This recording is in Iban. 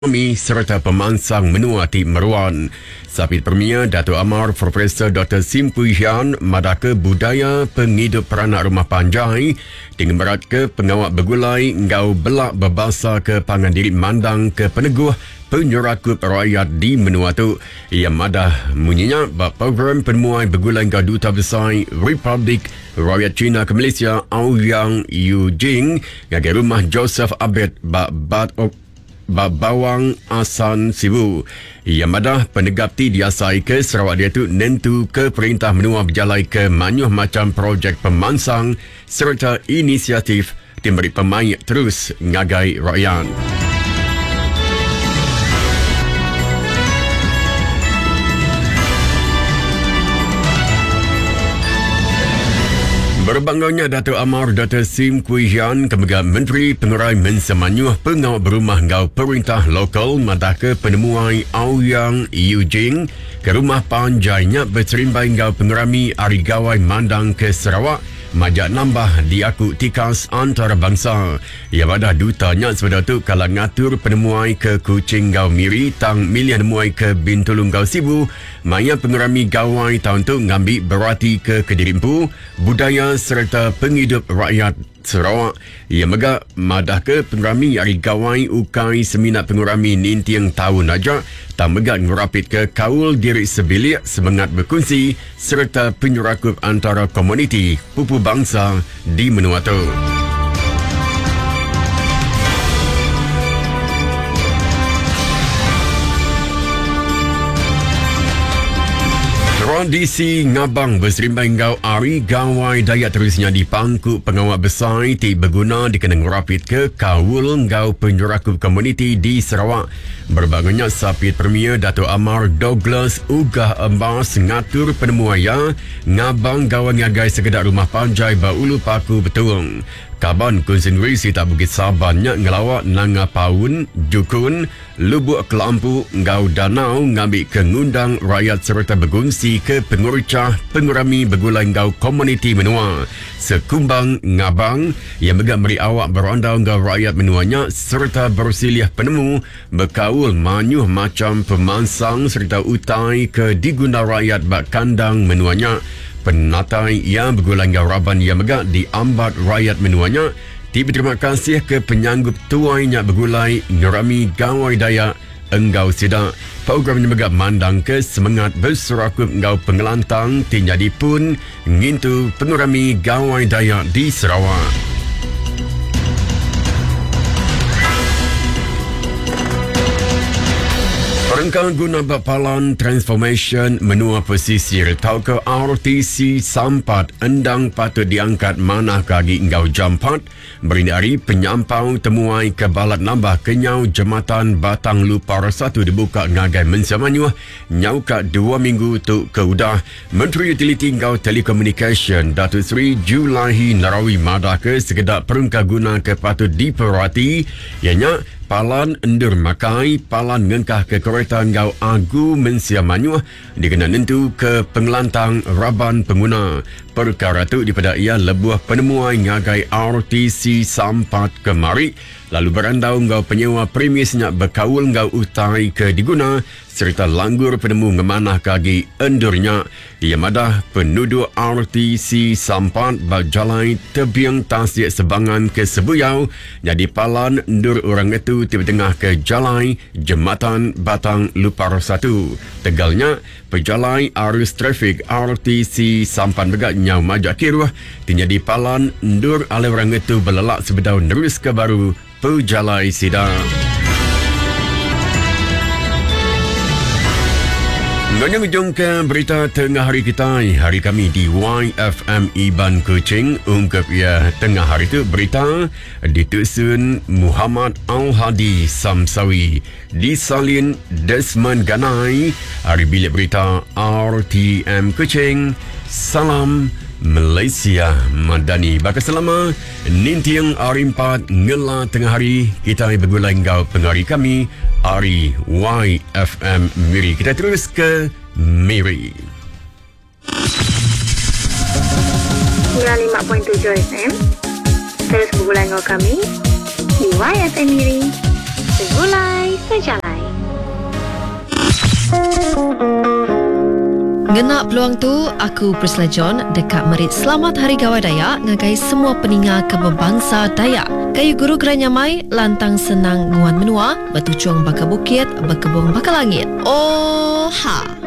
Ekonomi sereta pemansang menua ti meruan. Sapit Premier Datuk Amar Profesor Doktor Sim Kui Hian madahka budaya pengidup peranak rumah panjai ti ngemeratka pengawa begulai enggau bela bebasaka pangan diri mandangka peneguh penyerakup rayat di menua tu. Iya madah munyi nya ba program penemuai begulai enggau Duta Besai Republik Rakyat China ke Malaysia Aoyang Yujing ngagai Rumah Joseph Abet ba Bat Ba Bawang Assan Sibu, iya madah penegap ti diasaika Sarawak diatu nentuka perintah menua bejalaika mayuh macham projek pemansang sereta inisiatif ti meri pemaik terus ngagai rakyat. Berebak enggau nya, Datuk Amar Doktor Sim Kui Hian ke mega Menteri Pengerai Mensia Mayuh Pengawa Berumah enggau Perintah Lokal madahka penemuai Aoyang Yujing ke rumah panjai nya beserimbai enggau pengerami Hari Gawai Mandang ke Sarawak majak nambah diaku tikas antarabangsa. Iya madah duta nya sebedau tu kala ngatur penemuai ke Kuching enggau Miri tang milih nemuai ke Bintulu enggau Sibu Maya pengerami Gawai taun tu ngambi beratika kediri empu, budaya sereta pengidup rakyat Sarawak. Iya mega madahka pengerami Hari Gawai ukai semina pengerami ninting taun aja tang mega ngerapitka kaul diri sebilik, semengat bekunsi sereta penyerakup antara komuniti pupu bansa di menua tu. Tradisi ngabang beserimbai enggau Hari Gawai Dayak terus nyadi pangku pengawa besai ti beguna dikena ngerapitka kaul enggau penyerakup komuniti di Sarawak. Berebak enggau nya, Sapit Premier Datuk Amar Douglas Uggah Embas ngatur penemuai iya Ngabang gawa ngagai sekeda rumah panjai ba Ulu Paku Betong. Kaban Kunsil Nengeri sitak Bukit Saban nya ngelawa Nanga Paun, Jukun, Lubuk Kelampu enggau Danau ngambika ngundang rayat sereta begunsika pengerichah pengerami begulai enggau komuniti menua. Sekumbang ngabang, iya mega meri awak berandau enggau rayat menua nya sereta bersilih penemu Bekaul mayuh macham pemansang sereta utai ke diguna rayat ba kandang menua nya. Penatai iya begulai enggau raban iya mega diambat rayat menua nya ti beterima kasih ke penyanggup tuai nya begulai ngerami Gawai Dayak enggau sida. Program nya mega mandangka semengat beserakup enggau pengelantang ti nyadi pun ngintu pengerami Gawai Dayak di Sarawak. Perengka guna ba Palan Transformasyen Menua Pesisir tauka RTC Sampat endang patut diangkat manah ke agi enggau jampat Berindik ari penyampau temuai ke balat nambah kenyau Jematan Batang Lupar satu dibuka ngagai mensia mayuh nyau ka dua minggu tu ke udah, Menteri Utiliti enggau Telekomunikasyen Datuk Seri Julaihi Narawi madahka sekeda perengka guna ke patut diperati iya nya palan endur makai, palan ngengkahka kereta enggau agu mensia mayuh dikena nentuka pengelantang raban penguna. Perkara tu dipeda iya lebuh penemuai ngagai RTC Sampat kemari lalu berandau enggau penyewa premis nya bekaul enggau utai ke diguna sereta langgur penemu ngemanahka agi endur nya. Iya madah, penuduk RTC Sampat ba Jalai Tebing Tasik Sebangan ke Sebuyau nyadi palan endur orang ngetu ti betengahka Jalai Jematan Batang Lupar satu. Tegal nya, pejalai arus trafik RTC Sampan mega nyau majak kiruh ti nyadi palan endur alai orang ngetu belelak sebedau neruska baru pejalai sida. Enggau nya ngujungka berita tengah hari kitai. Hari kami di YFM Iban Kuching ungkup iya tengah hari tu berita ditusun Muhammad Al-Hadi Samsawi disalin Desmond Ganai ari bilik berita RTM Kuching. Salam Malaysia Madani. Baka selama Ninting ari empat ngela tengah hari kitai begulai enggau pengari kami ari YFM Miri. Kitai terus ke Miri. 95.7 FM Terus begulai enggau kami di YFM Miri. Segulai Sejalai. Ngena peluang tu, aku Priscilla John deka meri Selamat Hari Gawai Dayak ngagai semua peninga ke bebangsa Dayak. Gayu guru gerai nyamai, lantang senang nguan menua, betuchung baka bukit, bekebung baka langit. Oh ha!